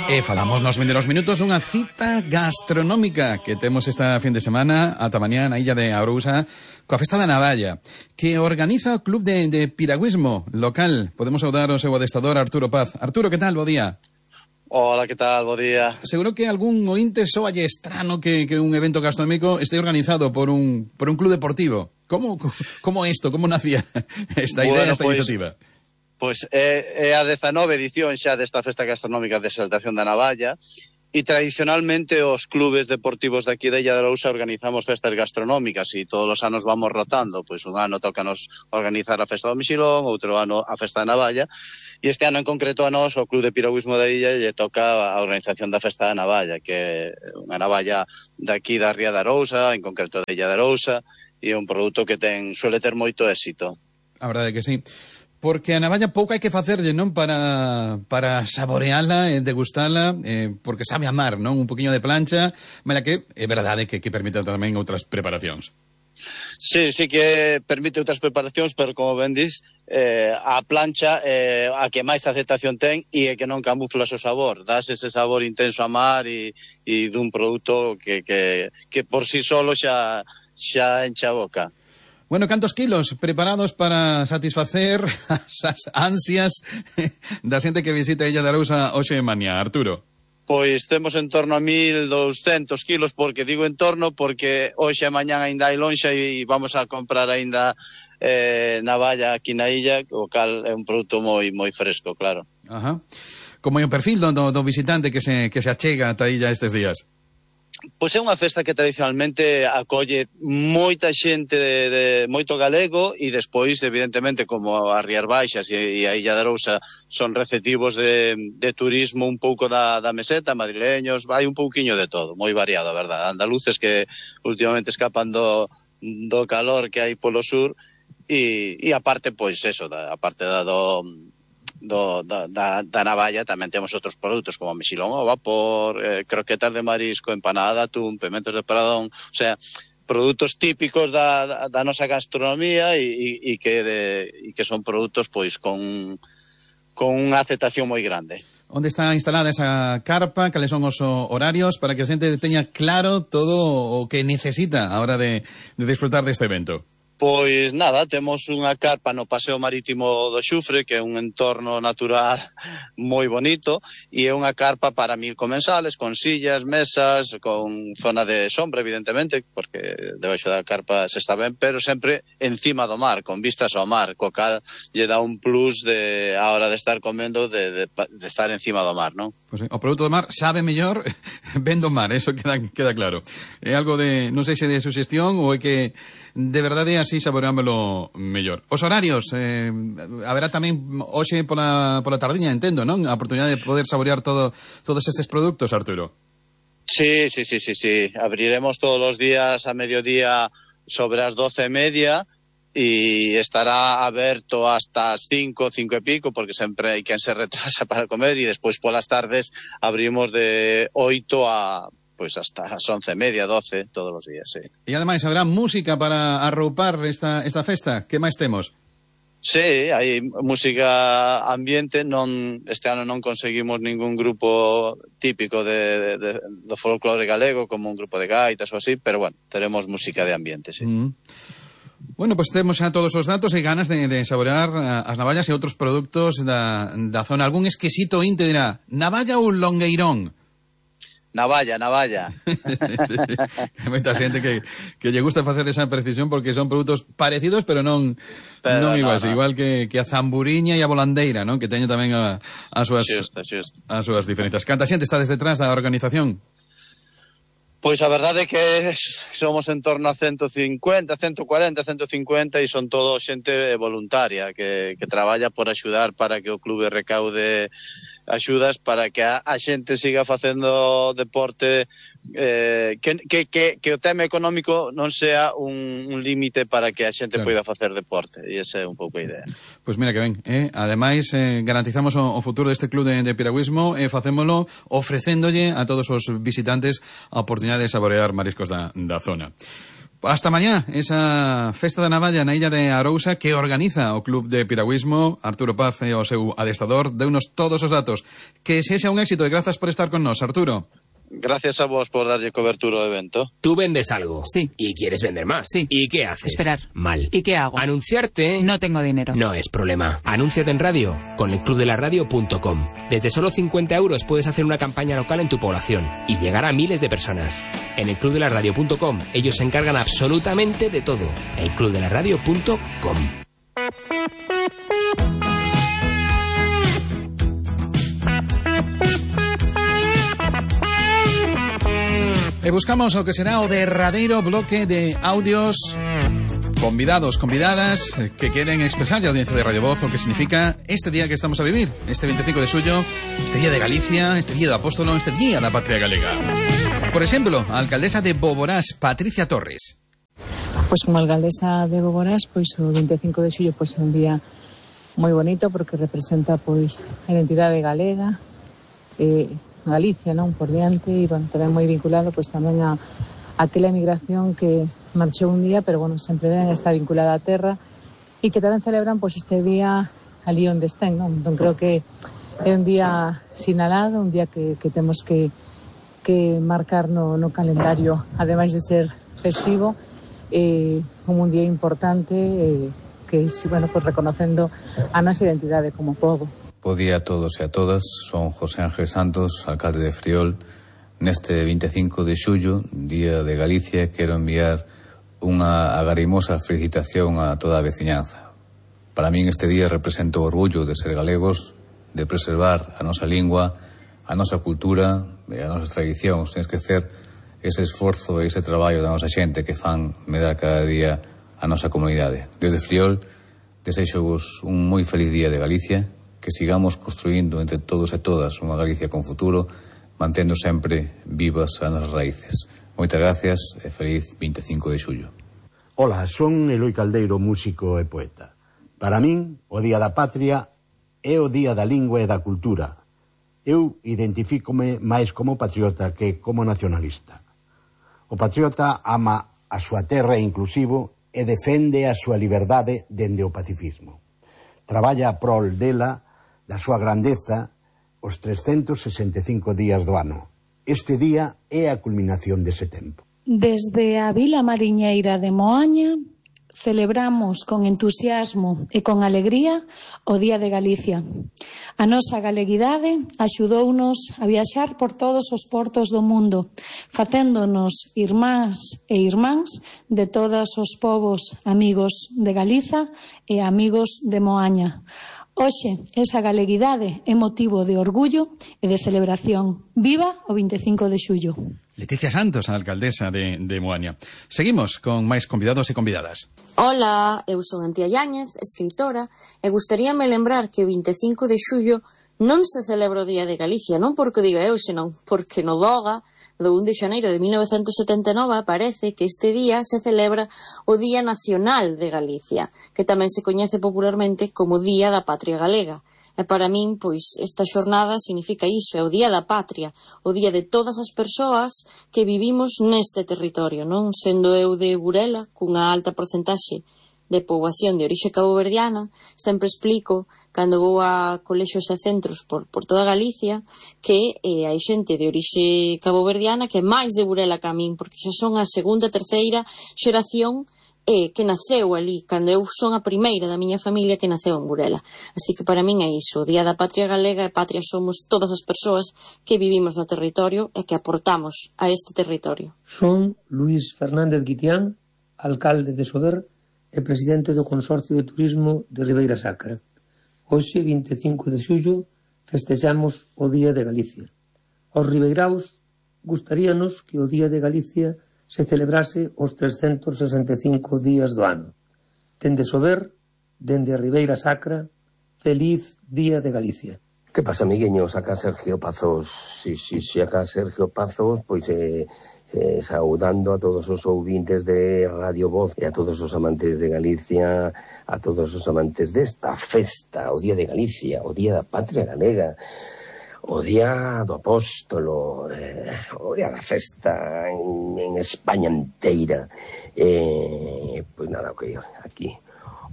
Falamos nos vindeiros minutos dunha cita gastronómica que temos esta fin de semana ata mañá na illa de Arousa coa Festa da Navalla, que organiza o Club de Piragüismo local. Podemos saudar o seu adestador Arturo Paz. Arturo, que tal? Bo día. Hola, que tal? Bo día. Seguro que algún ointe soalle estrano que un evento gastronómico esté organizado por un club deportivo. Como isto? Como nacía esta idea, esta iniciativa? Pois é a 19 edición xa desta Festa Gastronómica de Exaltación da Navalla e tradicionalmente os clubes deportivos de aquí de Illa de Arousa organizamos festas gastronómicas e todos os anos vamos rotando, pois un ano tócanos organizar a Festa do Mexilón, outro ano a Festa da Navalla e este ano en concreto a nós, o Club de Piragüismo da Illa, lle toca a organización da Festa da Navalla, que é unha navalla daqui da Ría de Arousa, en concreto de Illa de Arousa, e é un produto que suele ter moito éxito. A verdade é que sí. Porque a navalla pouco hai que facerlle, non? Para saboreala e degustala, porque sabe a mar, non? Un poquinho de plancha, mala que é verdade que permite tamén outras preparacións. Sí que permite outras preparacións, pero como ben dis, a plancha a que máis aceptación ten e é que non camuflas o sabor, das ese sabor intenso a mar e dun produto que por sí solo xa enche a boca. Bueno, cantos kilos preparados para satisfacer as ansias da xente que visita a Illa de Arousa hoxe en mañá, Arturo? Pois temos en torno a 1.200 kilos, porque digo en torno porque hoxe e mañá ainda hai lonxa e vamos a comprar ainda navalla aquí na illa, o cal é un produto moi fresco, claro. Ajá. Como é o perfil do visitante que se achega ata a illa estes días? Pois é unha festa que tradicionalmente acolle moita xente de moito galego e despois, evidentemente, como as Rías Baixas e a Illa de Arousa son receptivos de turismo un pouco da meseta, madrileños, vai un pouquiño de todo, moi variado, a verdade. Andaluces que últimamente escapan do calor que hai polo sur e aparte, pois eso, aparte da navalla tamén temos outros produtos como mexilón ao vapor, croquetas de marisco, empanada de atún, pementos de Pradón, o sea, produtos típicos da nosa gastronomía e que son produtos pois con unha aceptación moi grande. Onde está instalada esa carpa? Cales son os horarios para que a xente teña claro todo o que necesita a hora de disfrutar deste evento? Pois nada, temos unha carpa no Paseo Marítimo do Xufre, que é un entorno natural moi bonito, e é unha carpa para 1000 comensales, con sillas, mesas, con zona de sombra, evidentemente, porque debaixo da carpa se está ben, pero sempre encima do mar, con vistas ao mar, co cal lle dá un plus a hora de estar comendo, de estar encima do mar, non? Pois o produto do mar sabe mellor ben do mar, eso queda claro. É algo de, non sei se de suxestión ou é que de verdade así saboreámoslo mellor. Os horarios, haberá tamén hoxe pola tardiña, entendo, non? A oportunidade de poder saborear todos estes produtos, Arturo. Sí. Abriremos todos os días a mediodía sobre as 12:30 e estará aberto hasta as 5 e pico, porque sempre hai quen se retrasa para comer, e despois polas tardes abrimos de 8 a pois hasta as 11:30, 12, todos os días, sí. E ademais, habrá música para arroupar esta festa? Que máis temos? Sí, hai música ambiente, este ano non conseguimos ningún grupo típico do folclore galego, como un grupo de gaitas ou así, pero bueno, teremos música de ambiente, sí. Bueno, pois temos xa todos os datos e ganas de saborear as navallas e outros produtos da zona. Algún exquisito inte dirá, navalla ou longueirón? Navalla. Hai moita xente que lle gusta facer esa precisión porque son produtos parecidos, pero non iguais. No. Igual que a zamburiña e a volandeira, non? Que teño tamén as súas diferencias. Canta xente está desde detrás da organización? Pois a verdade é que somos en torno a 150, 140, 150 e son todo xente voluntaria que traballa por axudar para que o clube recaude axudas para que a xente siga facendo deporte, que o tema económico non sea un límite para que a xente poida facer deporte, e esa é un pouco a idea. Pois mira que ben, ademais garantizamos o futuro deste club de piragüismo e facémolo ofrecéndolle a todos os visitantes a oportunidade de saborear mariscos da zona. Hasta mañá, esa festa da navalla na illa de Arousa que organiza o Club de Piragüismo. Arturo Paz e o seu adestador deunos todos os datos. Que sexa un éxito e grazas por estar con nós, Arturo. Gracias a vos por darlle cobertura ao evento. Tú vendes algo. Sí. Y quieres vender más. Sí. ¿Y qué haces? Esperar. Mal. ¿Y qué hago? Anunciarte. No tengo dinero. No es problema. Anúnciate en radio con elclubdelaradio.com. Desde solo 50 euros puedes hacer una campaña local en tu población y llegar a miles de personas. En elclubdelaradio.com ellos se encargan absolutamente de todo. elclubdelaradio.com. E buscamos o que será o derradeiro bloque de audios convidados, convidadas que queren expresar a audiencia de Radio Voz o que significa este día que estamos a vivir, este 25 de xullo, este día de Galicia, este día do Apóstolo, este día da Patria Galega. Por exemplo, a alcaldesa de Boborás, Patricia Torres. Pois como alcaldesa de Boborás, pois o 25 de xullo pois é un día moi bonito porque representa pois a identidade galega, Galicia, non, por diante, e bueno, tamén moi vinculado pois tamén a aquela emigración que marchou un día, pero bueno, sempre ben está vinculada á terra e que tamén celebran pois este día ali onde estén, non? Entón creo que é un día sinalado, un día que temos que marcar no calendario, ademais de ser festivo, como un día importante que, bueno, pues reconocendo a nosa identidade como pobo. Bo día a todos e a todas, son José Ángel Santos, alcalde de Friol. Neste 25 de xullo, Día de Galicia, quero enviar unha agarimosa felicitación a toda a veciñanza. Para min este día representa o orgullo de ser galegos, de preservar a nosa lingua, a nosa cultura e a nosa tradición, sen esquecer ese esforzo e ese traballo da nosa xente que fan medrar cada día a nosa comunidade. Desde Friol, desexo-vos un moi feliz Día de Galicia, que sigamos construindo entre todos e todas unha Galicia con futuro, mantendo sempre vivas as nosas raíces. Moitas gracias e feliz 25 de xullo. Ola, son Eloi Caldeiro, músico e poeta. Para min, o Día da Patria é o Día da Lingua e da Cultura. Eu identifícome máis como patriota que como nacionalista. O patriota ama a súa terra inclusivo e defende a súa liberdade dende o pacifismo. Traballa a prol dela, da súa grandeza, os 365 días do ano. Este día é a culminación dese tempo. Desde a Vila Mariñeira de Moaña celebramos con entusiasmo e con alegría o Día de Galicia. A nosa galeguidade axudounos a viaxar por todos os portos do mundo, facéndonos irmáns e irmáns de todos os povos amigos de Galiza e amigos de Moaña. Hoxe, esa galeguidade é motivo de orgullo e de celebración. Viva o 25 de xullo. Leticia Santos, a alcaldesa de Moaña. Seguimos con máis convidados e convidadas. Ola, eu son Antía Yáñez, escritora, e gustaríame lembrar que o 25 de xullo non se celebra o Día de Galicia, non porque diga eu, senón porque no DOGA do 1 de xaneiro de 1979 aparece que este día se celebra o Día Nacional de Galicia, que tamén se coñece popularmente como Día da Patria Galega. E para min, pois, esta xornada significa iso, é o Día da Patria, o día de todas as persoas que vivimos neste territorio, non? Sendo eu de Burela, cunha alta porcentaxe de poboación de orixe caboverdiana, sempre explico, cando vou a colexios e centros por toda Galicia, que hai xente de orixe caboverdiana que é máis de Burela que a min, porque xa son a segunda, terceira xeración que naceu ali, cando eu son a primeira da miña familia que naceu en Burela. Así que para min é iso, o Día da Patria Galega, e patria somos todas as persoas que vivimos no territorio e que aportamos a este territorio. Son Luís Fernández Guitián, alcalde de Sober e presidente do Consorcio de Turismo de Ribeira Sacra. Hoxe, 25 de xullo, festexamos o Día de Galicia. Aos ribeiraos gustaríanos que o Día de Galicia se celebrase os 365 días do ano. Dende Sober, dende a Ribeira Sacra, feliz Día de Galicia. Que pasa, amigueños? Acá Sergio Pazos. Si, acá Sergio Pazos, pois saudando a todos os ouvintes de Radio Voz e a todos os amantes de Galicia, a todos os amantes desta festa, o Día de Galicia, o Día da Patria Galega, o día do apóstolo, o día da festa en España inteira. Pois nada, o que aquí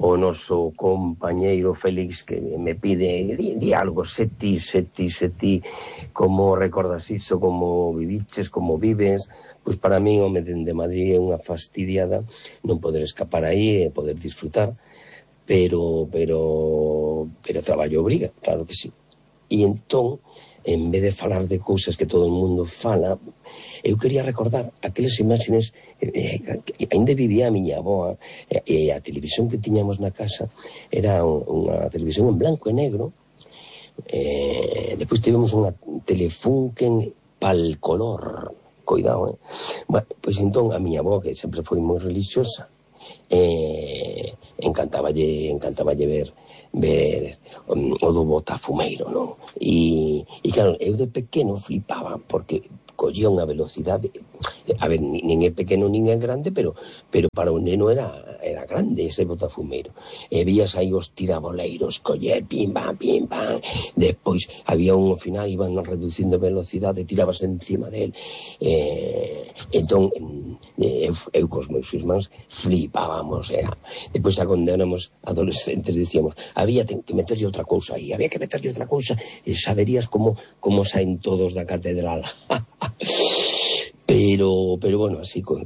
o noso compañeiro Félix que me pide di algo, se ti, como recordas iso, como viviches, como vives. Pois para mí, home, dende Madrid é unha fastidiada non poder escapar aí e poder disfrutar, pero traballo obriga, claro que sí. E entón, en vez de falar de cousas que todo o mundo fala, eu quería recordar aquelas imágenes. Ainda vivía a miña avoa, e a televisión que tiñamos na casa era unha televisión en blanco e negro. Depois tivemos unha Telefunken pal color, coidado, Bueno, pois entón a miña avoa, que sempre foi moi religiosa, encantaballe ver o do botafumeiro, non? E claro, eu de pequeno flipaba porque collía unha velocidade, a ver, nin é pequeno nin é grande, pero para un neno era grande ese botafumeiro. E vías aí os tiraboleiros, colle, pim pam, despois había un ao final, iban reducindo velocidade, tirabas encima del. Entón, eu cos meus irmáns flipábamos, Depois, cando éramos adolescentes, dicíamos, había que meterlle outra cousa aí, e saberías como saen todos da catedral. Pero bueno, así con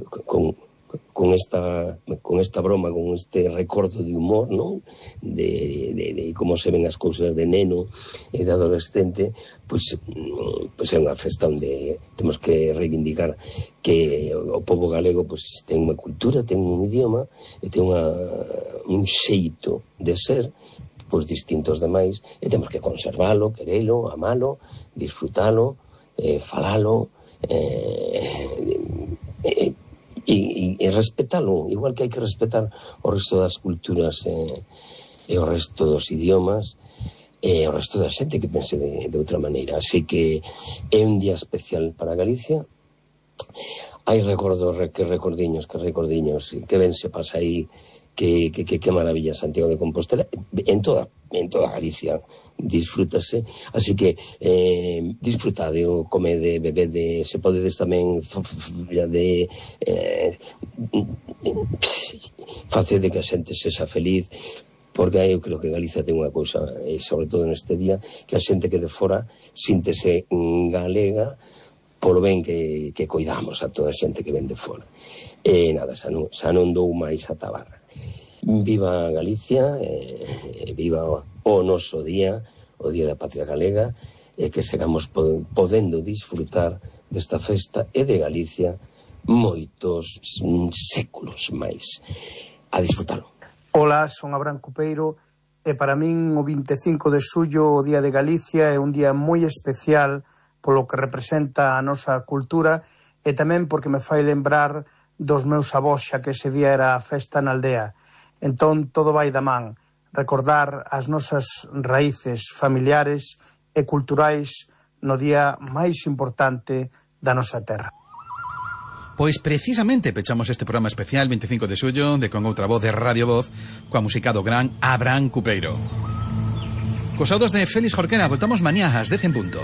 esta broma, con este recordo de humor, non? De como se ven as cousas de neno e de adolescente, pois é unha festa onde temos que reivindicar que o pobo galego pois ten unha cultura, ten un idioma e ten un xeito de ser pois distintos demais, e temos que conservalo, querelo, amalo, disfrutalo, falalo, e respetalo, igual que hai que respetar o resto das culturas e o resto dos idiomas e o resto da xente que pense de outra maneira. Así que é un día especial para Galicia. Hai recordiños, que ben se pasa aí, que maravilla Santiago de Compostela, en toda Galicia disfrútase, así que disfrutade, comede, bebede, se podedes tamén facede que a xente sexa feliz, porque eu creo que Galicia ten unha cousa, e sobre todo neste día, que a xente que de fora síntese galega polo ben que coidamos a toda a xente que ven de fora. E nada, xa non dou máis a tabarra. Viva Galicia, viva o noso día, o Día da Patria Galega, e que sigamos podendo disfrutar desta festa e de Galicia moitos séculos máis. A disfrutalo. Ola, son Abraham Cupeiro, e para min o 25 de xullo, o Día de Galicia, é un día moi especial polo que representa a nosa cultura e tamén porque me fai lembrar dos meus avós, xa que ese día era a festa na aldea. Entón, todo vai da man. Recordar as nosas raíces familiares e culturais no día máis importante da nosa terra. Pois precisamente pechamos este programa especial 25 de xullo de Con Outra Voz de Radio Voz coa música do gran Abraham Cupeiro. Cos audos de Félix Jorquera, voltamos mañá ás 10 en punto.